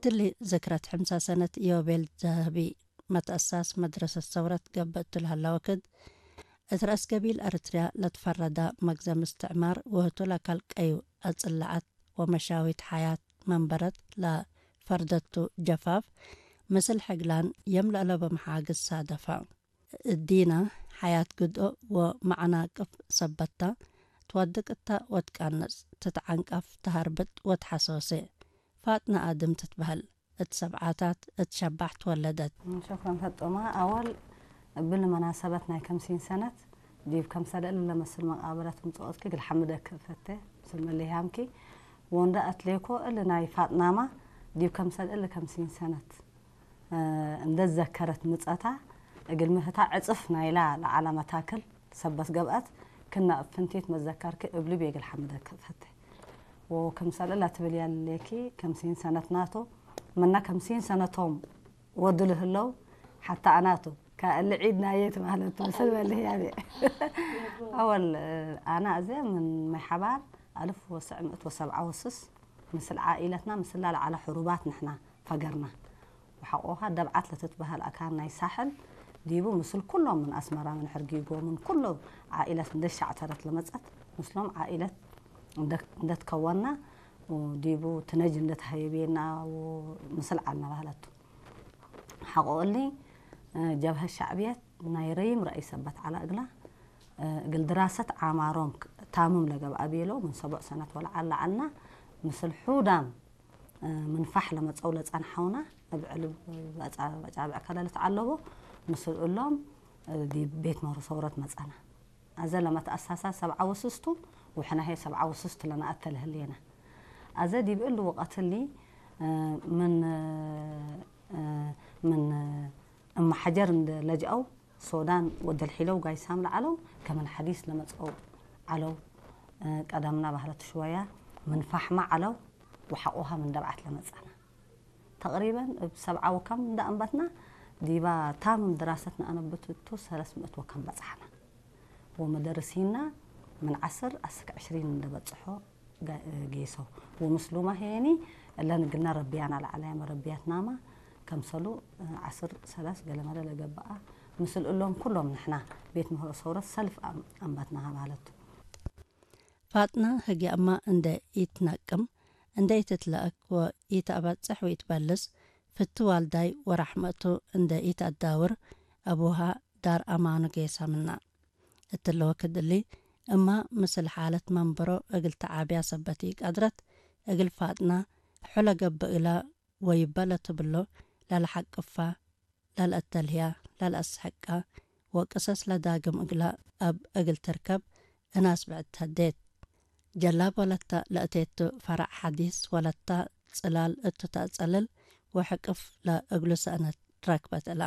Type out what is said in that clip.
እሊ ዝክረት ሕምሳ ሰነት ዮቤል ዘህቢ መትኣሳስ መድረሰት ሰውረት ገብእቱ ለሀላ ወክድ፣ እት ረእስ ገቢል ኤርትርያ ለትፈረዳ መግዘም እስትዕማር ወህቱ ለካል ቀዩ ኣጽላዓት ወመሻዊት ሓያት መንበረት ለፈርደቱ ጀፋፍ፣ ምስል ሕግላን የም ለእለቦ መሓግዝ ሳደፋ። እዲና ሓያት ግድኦ ወመዓናቅፍ ሰበታ፣ ትወድቅ እታ ወትቃነጽ፣ ትትዓንቀፍ፣ ተሃርብጥ ወትሓሶሴ። ፋጥና ኣድም ትትበህል፣ እት ሰብዓታት እት ሸባሕ ትወለደት። ሸክረን ፈጦማ ኣወል እብል መናሰበት ናይ ከምሲን ሰነት ዲብ ከምሰለ እለ መስል መቃብረት ምጽኦትኪ እግል ሓምደክ እፈቴ ምስል መለያምኪ ወንዳ ኣትሌኮ እል ናይ ፋጥናማ ዲብ ከምሰል እል ከምሲን ሰነት እንደ ዘከረት ምጸታ እግል ምህታ ዕጽፍ ናይላ ለዓላ መታክል ሰበት ገብአት ክና እብ ፍንቲት መዘከርኪ እብሊ ቤግል ሓምደክ እፈቴ። ወከምሰል እላ ትብል ያሌኪ ከምሲን ሰነት ናቶ መና ከምሲን ሰነቶም ወድሉ ህለው ሓታ ኣናቱ ከእሊ ዒድ ናየት ማለት ምስል በልህ ያቤ። ኣወል ኣና እዘ ምን ማይ ሓባር ኣልፍ ወስዕ ምእት ወሰብዓ ወስስ ምስል ዓኢለትና ምስላ ለዓላ ሕሩባት ንሕና ፈገርና። ወሓቆኻ ደብዓት ለትትበሃል ኣካን ናይ ሳሕል ዲቡ ምስል ኩሎም ምን ኣስመራ ምን ሕርጊጎ ምን ኩሎ ዓኢለት እንደ ሻዕተረት ለመጸት ምስሎም ዓኢለት እንደ-፣ እንደትከወና ዲቡ ትነጅ እንደተሃየቤና ምስል ዓልና ባህለቱ። ሓቆ እሊ ጀብሀ ሻዕብየት ናይ ረይም ረእይ ሰበት ዓላ እግላ እግል ድራሰት ዓማሮም ታምም ለገብኣ ቤለው ምን ሰቡዕ ሰነት ወለዓል ለዓልና ምስል ሑዳም ምንፋሕ ለመጸው ለጸንሐውና እብ ዕልብ በጫብዕ ከለልት ዓለቦ ምስል እሎም ዲብ ቤት ምህሮ ሰውረት መጸና። ኣዘ ለመትኣሳሳ ሰብዓ ወስስቱ ወሕናሄ ሰብዓ ወስስቱ ለነኣተ ለህሌና። ኣዘ ዲብ እሊ ወቀትሊ ምን ምን እመሓጀር እንደ ለጅአው ሶዳን ወደልሒለው ጋይሳም ለዓለው ከመን ሐዲስ ለመጸው ዓለው ቀደምና ባህለት ሽወያ ምን ፋሕማ ዓለው ወሓቆሃ ምን ደብዓት ለመጸና። ተቅሪበን እብ ሰብዓ ወከም እንዳ ኣንበትና ዲባ ታምም ድራሰት ነኣነብት እቱ ሰለስ ምእት ወከም በጽሐና። ወመደርሲና ምን ዓስር ኣስክ ዕሽሪን እንደበጽሖ ጋ-፣ ጌሶ። ወምስሉማ ሄኒ እለን ግና ረቢያና ለዓለያ መረቢያትናማ ከምሰሉ ዓስር ሰለስ ገለመለ ለገብኣ ምስል እሎም ኩሎም ንሕና ቤት ምህሮ ሰውረት ሰልፍ ኣም-፣ ኣንበትናሃ ባህለቱ። ፋጥና ህግያማ እንደ ኢትነቅም፣ እንደ ኢትትለእክ ወኢትአበጽሕ ወኢትበልስ፣ ፍቲ ዋልዳይ ወራሕመቱ እንደ ኢትአዳውር፣ አቡሃ ዳር አማኑ ጌሳ ምና። እትለ ወክድ እሊ፣ እማ ምስል ሓለት መንበሮ እግል ተዓብያ ሰበት ኢቀድረት፣ እግል ፋጥና፣ ሑለ ገብእ እግላ ወይበ ለትብሎ፣ ለለሐቅፋ፣ ለልአተልህያ፣ ለልአስሕቃ ወቅሰስ ለዳግም እግላ እብ እግል ትርከብ እናስ ብዕድ ተዴት። ጀላብ ወለታ ለእቴቱ ፈራዕ ሐዲስ ወለታ ጽላል እቱ ተአጸልል ወሕቅፍ ለእግሉ ሰእነት ረክበት እላ።